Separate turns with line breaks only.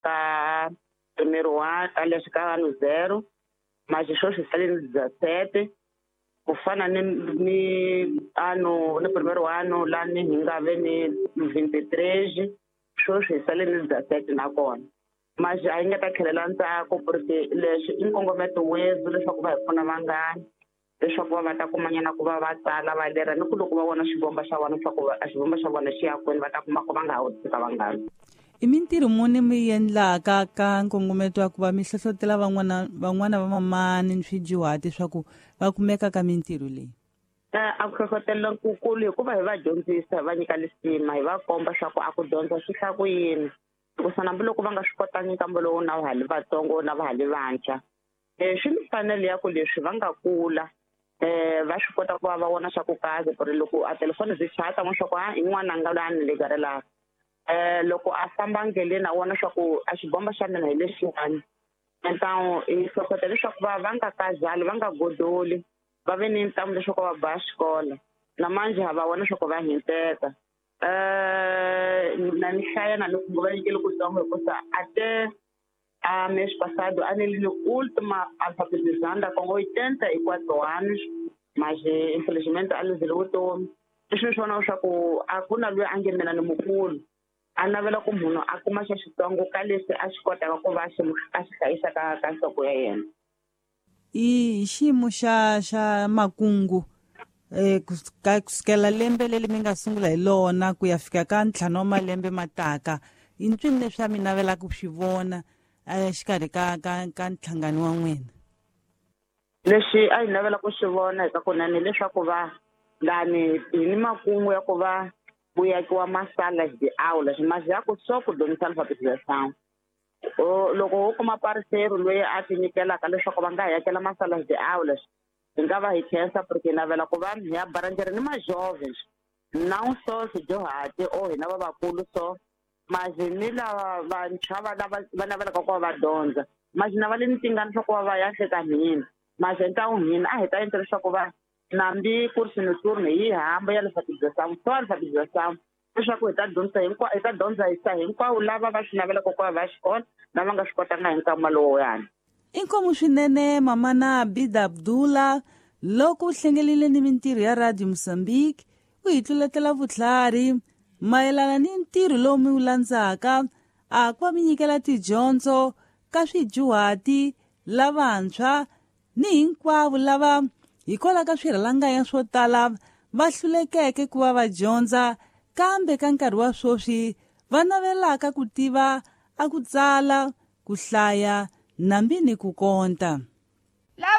ka primeiro ano aliás ka ano zero mas sweswi hi sale ni 17 ku fana ni ano ni primeiro ano lani hi nga ve ni 23 sweswi hi sale ni 17 nakona mas a yi nga ta tlhelela ndzhaku porque leswi i nkongometo wethu leswaku va hi pfuna vanghana leswaku va va ta kumanyana ku va va tsala va lera ni ku loko va vona xivomba xa vona swa ku a xivomba xa vona xi ya kwini va ta kuma ku va nga ha wu tshika vanghana.
I mintirho muni mi endlaka ka nkongometo wa ku va mi hlohlotela van'wana van'wana va mamani ni swidyuhati swa ku va kumeka ka mintirho leyi?
A ku hlohlotela kukulu hikuva hi va dyondzisa hi va nyika lisima hi va komba swa ku a ku dyondza swi hla ku yini hikusa hambiloko va nga swi kotangi nkambo lowu na va ha li vatsongo na va ha li vantshwa swi ni mfanelo ya ku leswi va nga kula va swi kota ku va va vona swa ku kaze ku ri loko a telefoni byi chata vona swa ku a i n'wananga loyi a ni lekarelaka loko a famba ndleleni a vona swa ku a xibomba xa mina hi lexiwani então hi hlohlotela leswaku va va nga kazali va nga godoli va ve ni ntamu leswaku va ba xikolo na manje ha va vona leswaku va hinteka na ni hlaya na loko va nyikele kutsongo hikusa até a mês passado a nele última alfabetizanda com 84 anos mas infelizmente a luzile vutomi leswi ni swi vonaka swa ku a ku na loyi a nge mina ni mukulu a navela ku munhu a kuma xa xitsongo ka leswi a xi kotaka ku va a xi a xi hlayisa ka ka nhloko ya yena.
I xiyimo xa xa makungu kusukela lembe leri mi nga sungula hi lona ku ya fika ka ntlhanu wa malembe ma taka i ncini leswi a mi navelaka ku swi vona exikarhi ka ka ka nhlangano wa n'wina?
Lexi a hi navela ku swi vona hi ka kunene leswaku va lani hi ni makungu ya ku va ku yakiwa masala de aulas mas ya ku só ku dyondzisa alfabetização loko wo kuma parceiro loyi a ti nyikelaka leswaku va nga hi yakela masalas de aulas hi nga va hi khensa porque hi navela ku va hi ya baranjere ni majovens não só swidyuhati or hina lavakulu so mas ni lava vantshwa va lava va navelaka ku va va dyondza mas na va le ni tingana swa ku va va ya hleka hina mas ntawu hina a hi ta endla leswaku va nambi curso noturno yi hamba ya alfabetização só alfabetização leswaku hi ta dyondzisa hinkwa hi ta dyondzisa hinkwavo lava va swi navelaka ku va va xikolo lava nga swi kotanga hi nkama lowuyani.
Inkomu swinene mamana Abida Abdullah loko u hlengelile ni mintirho ya Radio Mozambique u hi tluletela vutlhari mayelana ni ntirho lowu mi wu landzaka a ku va mi nyikela tidyondzo ka swidyuhati lavantshwa ni hinkwavo lava hikwalaho ka swirhalanganya swo tala va hlulekeke ku va va dyondza kambe ka nkarhi wa sweswi va navelaka ku tiva a ku tsala ku hlaya nambi ni ku konta.